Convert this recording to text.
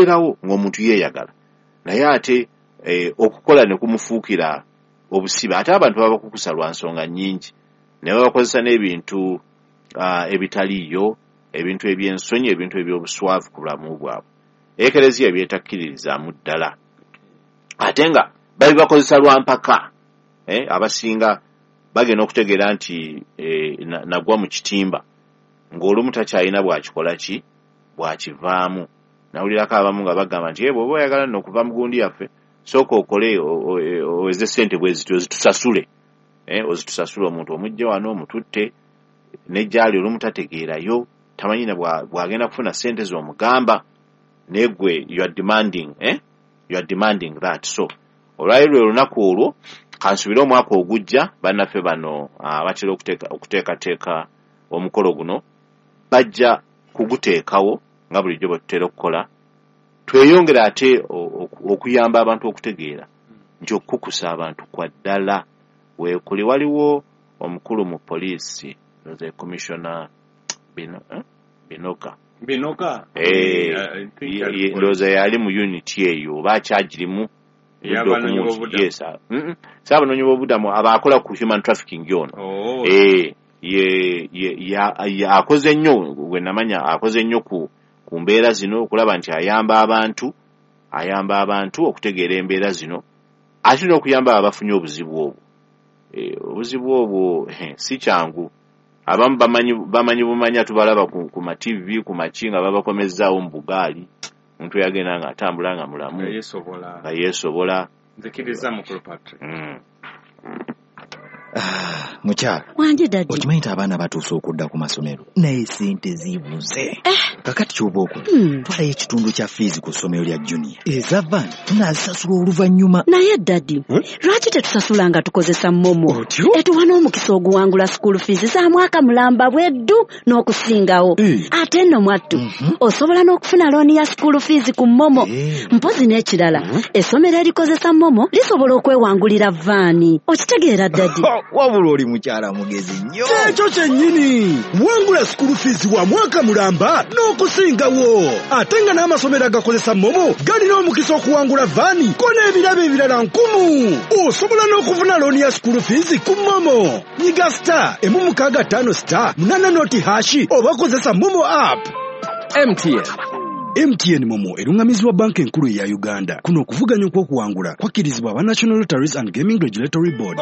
Bibeerawo ng'omuntu yeeyagala, naye ate okukola ne kumufuukira obusibe. Ate abantu babakukusa lwa nsonga nnyingi, ne babakozesa n'ebintu ebitaliiyo, ebintu eby'ensonyi, ebintu eby'obuswavu ku bulamu bwabwe. Ekereziya byetakkiririzaamu ddala, ate nga babibakozesa lwa mpaka. Abasinga bagenda okutegeera nti nagwa mu kitimba, ng'olumu takyalina bw'akikola ki, bw'akivaamu. Nawulirako abamu nga bagamba nti, "Bw'oba oyagala nno okuva mu gundi yaffe, sooka okole oweze ssente bwe ziti ozitusasule, ozitusasule." Omuntu omujje wano omututte nejjaali, olumu tategeerayo, tamanyi na bw'agenda kufuna ssente z'omugamba, naye gwe you are demanding, eh? You are demanding that. So olwali lwe lunaku olwo. Kansubire omwaka ogujja bannaffe bano batera okuteekateeka omukolo guno bajja kuguteekawo nga bulijjo bwe tutera okukola, tweyongere ate okuyamba abantu okutegeera nti okukukusa abantu kwa ddala weekuli. Waliwo omukulu mu poliisi, the commissioner Binoka. Binoka. Ndowooza yali mu unit eyo oba akyagirimu. Ey'abanoonyi b'obubudamu. Yes, si abanoonyi b'obubudamu, abakola ku human trafficking ono. Oh. Ye akoze nnyo, gwe namanya akoze nnyo ku mbeera zino, okulaba nti ayamba abantu okutegeera embeera zino, ate n'okuyamba abo abafunye obuzibu obwo. Obuzibu obwo si kyangu. Abamu bamanyi bumanya, tubalaba ku ma TV, ku maki, nga babakomezzaawo mu bugaali, omuntu yagenda nga atambula nga mulamu. Nga yeesobola. Nga yeesobola. Nzikiriza, mukulu Patrick. Mukyala. Wangi, daddy. Okimanyi nti abaana batuuse okudda ku masomero, naye sente zibuze. Kakati kyoba okola, twalayo ekitundu kya fiizi ku ssomero lya Junior, eza van tunaazisasula oluvannyuma. Naye daddy, lwaki tetusasula nga tukozesa MoMo? Otyo? Etuwa n'omukisa oguwangula school fees za mwaka mulamba bweddu n'okusingawo. Ate nno mwattu, osobola n'okufuna looni ya school fees ku MoMo. Mpozi n'ekirala, essomero erikozesa MoMo lisobola okwewangulira van. Okitegeera, daddy? Wabula oli mukyala mugezi nnyo. Kyekyo kyennyini. Wangula school fees wa mwaka mulamba n'okusingawo, ate nga n'amasomero agakozesa MoMo galina omukisa okuwangula van ko n'ebirabo ebirala nkumu. Osobola n'okufuna looni ya school fees ku MoMo. Nyiga *165*80#, oba kozesa MoMo app. MTN. MTN MoMo eruŋŋamizibwa Banka Enkulu eya Uganda. Kuno okuvuganya okw'okuwangula kwakkirizibwa aba National Lotteries and Gaming Regulatory Board.